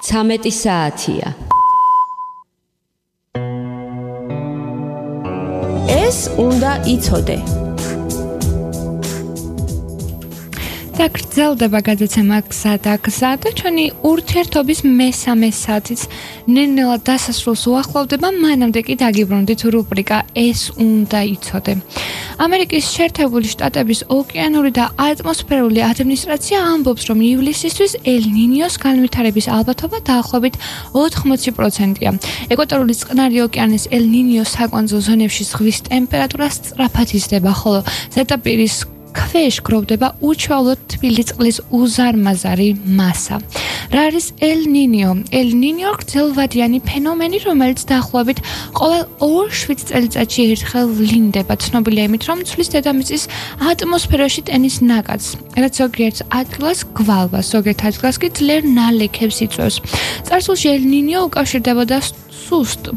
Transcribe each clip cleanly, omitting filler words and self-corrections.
13 საათია. ეს უნდა იცოდე. გრძელდება გადაცემა გზა და ჩვენი ურთიერთობის მესამე საათიც ნელ-ნელა დასასრულს უახლოვდება, მანამდე კი დაგიბრუნდით რუბრიკა ეს უნდა იცოდე. ამერიკის შეერთებული შტატების ოკეანური და ატმოსფერული ადმინისტრაცია ამბობს, რომ ივლისისთვის ელ-ნინიოს განვითარების ალბათობა დაახლოებით 80%-ია. ეკვატორული წყნარი ოკეანის ელ-ნინიოს საკვანძო ზონებში ზღვის ტემპერატურა სწრაფად იზრდება, ხოლო ზედაპირის ქვეშ გროვდება უჩვეულოდ თბილი წყლის უზარმაზარი მასა. რა არის ელ-ნინიო? ელ-ნინიო გრძელვადიანი ფენომენი, რომელიც დაახლოებით ყოველ 2-7 წელიწადში ერთხელ ვლინდება. ცნობილია იმით, რომ ცვლის დედამიწის ატმოსფეროში ტენის ნაკადს, რაც ზოგიერთ ადგილას გვალვას, ზოგიერთ ადგილას კი ძლიერ ნალექებს იწვევს. წარსულში ელ-ნინიო უკავშირდებოდა სუსტ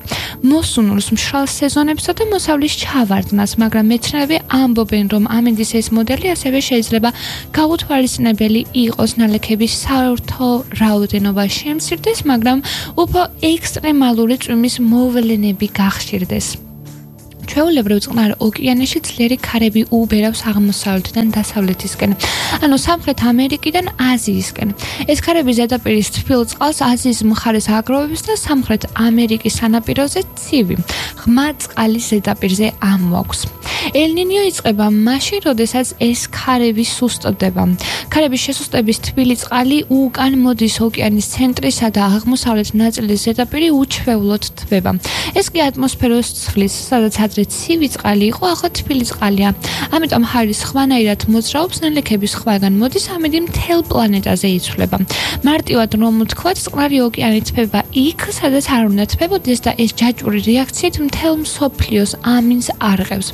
მოსუნულს, მშრალ სეზონებსა და მოსავლის ჩავარდნას, მაგრამ მეცნიერები ამბობენ, რომ ამინდის ეს მოდელი ასევე შეიძლება გაუთვალისწინებელი იყოს. ნალექების საერთო რაოდენობა შემცირდეს, მაგრამ უფრო ექსტრემალური წვიმის მოვლენები გახშირდეს. ჩვეულებრივ წყნარ ოკეანეში ძლიერი ქარები უბერავს აღმოსავლეთიდან დასავლეთისკენ, ანუ სამხრეთ ამერიკიდან აზიისკენ. ეს ქარები ზედაპირის თბილ წყალს აზიის მხარეს აგროვებს და სამხრეთ ამერიკის სანაპიროზე ცივი, ღრმა წყალის ზედაპირზე ამოაქვს. ელ-ნინიო იწყება მაშინ, როდესაც ეს ქარები სუსტდება. ქარების შესუსტების თბილი წყალი უკან მოდის ოკეანის ცენტრისა და აღმოსავლეთ ნაწილის ზედაპირი უჩვეულოდ თბება. ეს კი ატმოსფეროს ცვლის, სადაც ადრე ცივი წყალი იყო, ახლა თბილი წყალია. ამიტომ ჰაერის ხვანაირად მოძრაობს, ნალექების ხვაგან მოდის, ამიტომ მთელ პლანეტაზე იცვლება. მარტივად რომ ვთქვათ, წყნარი ოკეანი თბება იქ, სადაც არ უნდა თბებოდეს და ეს ჯაჭვური რეაქციით მთელ მსოფლიოს ამინს არღევს.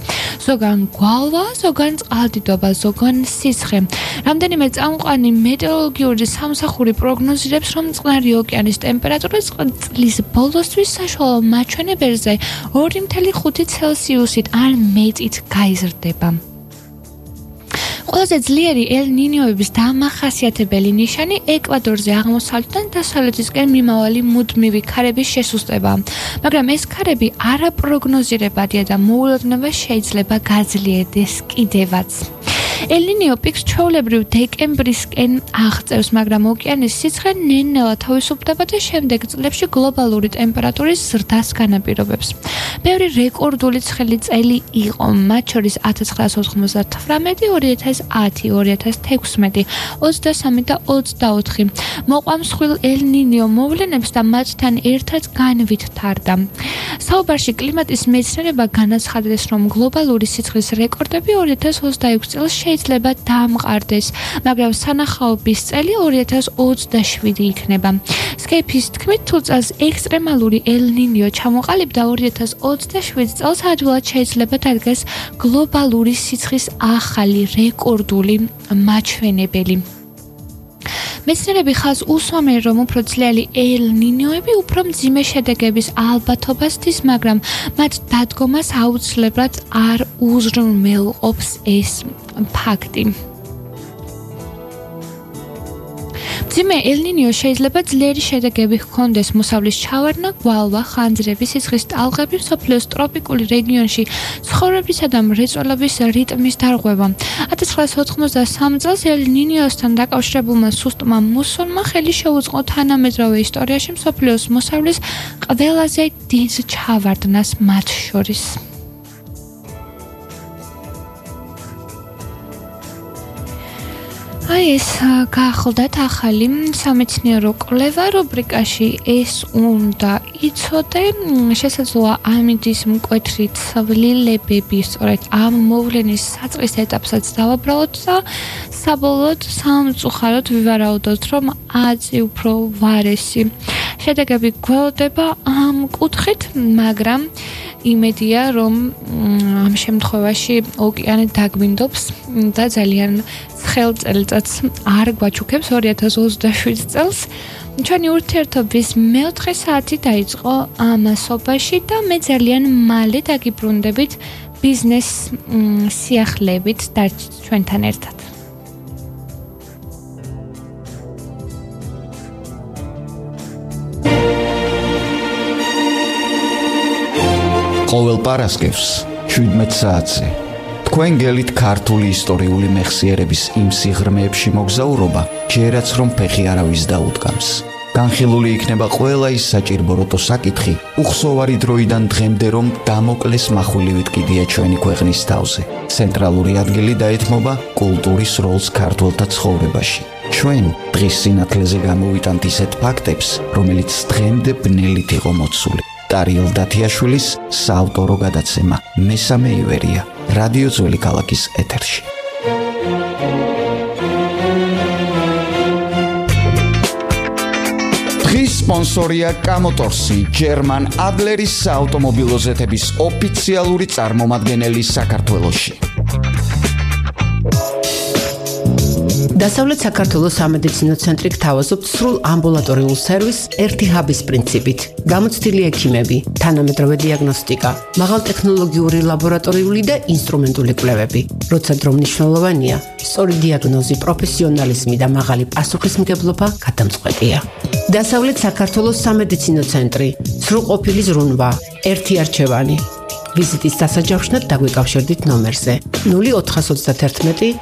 ზოგან გვალვა, ზოგან წყალდიდობა, ზოგან სიცხე. რამდენიმე წამყვანი მეტეოროლოგიური სამსახური პროგნოზირებს, რომ წყნარი ოკეანის ტემპერატურა წლის ბოლოსთვის საშუალო მაჩვენებელზე 2.5 ცელსიუსით ან მეტით გაიზრდება. ყველაზე ძლიერი ელ-ნინიოების დამახასიათებელი ნიშანი ეკვატორზე აღმოსავლეთიდან დასავლეთისკენ მიმავალი მუდმივი ქარების შესუსტება, მაგრამ ეს ქარები არაპროგნოზირებადია და მოულოდნელად შეიძლება გაძლიერდეს კიდევაც. ელ-ნინიო პიკს ჩვეულებრივ დეკემბრისკენ აღწევს, მაგრამ ოკეანის სიცხე ნელ-ნელა თავისუფლდება და შემდეგ წლებში გლობალური ტემპერატურის ზრდას განაპირობებს. ბევრი რეკორდული ცხელი წელი იყო, მათ შორის 1998, 2010, 2016, 23 და 24. მოყვა მსხვილ ელ-ნინიო მოვლენებს და მათთან ერთად განვითარდა. საუბარში კლიმატის მეცნიერება განაცხადეს, რომ გლობალური სიცხლის რეკორდები 2026 წელს შეიძლება დამყარდეს, მაგრამ სანახაობის წელი 2027 იქნება. სკეიფის თქმით, თუ წელს ექსტრემალური ელ-ნინიო ჩამოყალიბდა 2027 წელს ადვილად შეიძლება დადგეს გლობალური სიცხის ახალი რეკორდული მაჩვენებელი. მეცნიერები ხაზს უსვამენ, რომ უფრო ძლიერი ელ-ნინიოები უფრო მძიმე შედეგების ალბათობას თის, მაგრამ მათ დადგომას აუცილებლად არ უზრუნველყოფს ეს ფაქტი. მძიმე ელ-ნინიო შეიძლება ძლიერი შედეგები ჰქონდეს, მოსავლის ჩავარდნა, გვალვა, ხანძრები, სიცხის ტალღები, მსოფლიოს ტროპიკული რეგიონში ცხოვრებისა და მრეწველობის რიტმის დარღვევა. 1993 წელს ელ-ნინიოსთან დაკავშირებულმა სუსტმა მუსონმა ხელი შეუწყო თანამედროვე ისტორიაში მსოფლიოს მოსავლის ყველაზე დიდ ჩავარდნას მათ შორის. ეს გაახლდათ ახალი სამეცნიერო კვლევა რუბრიკაში ეს უნდა იცოდე. შესაძლოა ამინდის მკვეთრი ცვლილებები სწორედ ამ მოვლენის საწყის ეტაპსაც დავაბრალოთ და საბოლოოდ სამწუხაროდ ვივარაუდოთ, რომ აწი უფრო ვარესი შედეგები გველდება ამ კუთხით, მაგრამ იმედია, რომ ამ შემთხვევაში ოკეანე დაგვინდობს და ძალიან ცხელ წელიწადს არ გვაჩუქებს 2027 წელს. ჩვენი ურთიერთობის მეოთხე საათი დაიწყო ამასობაში და მე ძალიან მალე დაგიბრუნდებით ბიზნეს სიახლეებით დარჩით ჩვენთან ერთად. ყოველ პარასკევს 17 საათზე თქვენ გელით ქართული ისტორიული მეხსიერების იმ სიღრმეებში მოგზაურობა, ჯერაც რომ ფეხი არავის დაუდგამს. განხილული იქნება ყველა ის საჭირბოროტო საკითხი, უხსოვარი დროიდან დღემდე რომ დამოკლეს מחვილივით კიდია ჩვენი ქვეყნის თავზე. ცენტრალური ადგილი დაეთმობა კულტურის როლს ქართველთა ცხოვრებაში. ჩვენ დღის სინათლეზე გამოვიტანთ ისეთ ფაქტებს, რომელიც დღემდე ბნელით იყო მოცული. ტარიელ დათიაშვილის საავტორო გადაცემა მესამე ივერია რადიო ძველი ქალაქის ეთერში. დღის სპონსორია კამოტორსი, ჯერმან ადლერის საავტომობილო ზეთების ოფიციალური წარმომადგენელი საქართველოში. დასავლეთ საქართველოს სამედიცინო ცენტრი გთავაზობთ სრულ ამბულატორიულ სერვისს ერთი ჰაბის პრინციპით. გამოცდილი ექიმები, თანამედროვე დიაგნოსტიკა, მაღალტექნოლოგიური ლაბორატორიული და ინსტრუმენტული კვლევები. როცა დრო მნიშვნელოვანია, სწორი დიაგნოზი, პროფესიონალიზმი და მაღალი პასუხისმგებლობა გადამწყვეტია. დასავლეთ საქართველოს სამედიცინო ცენტრი, სრულყოფილი ზრუნვა, ერთი არჩევანი. ვიზიტის დასაჯავშნად დაგვიკავშირდით ნომერზე 0431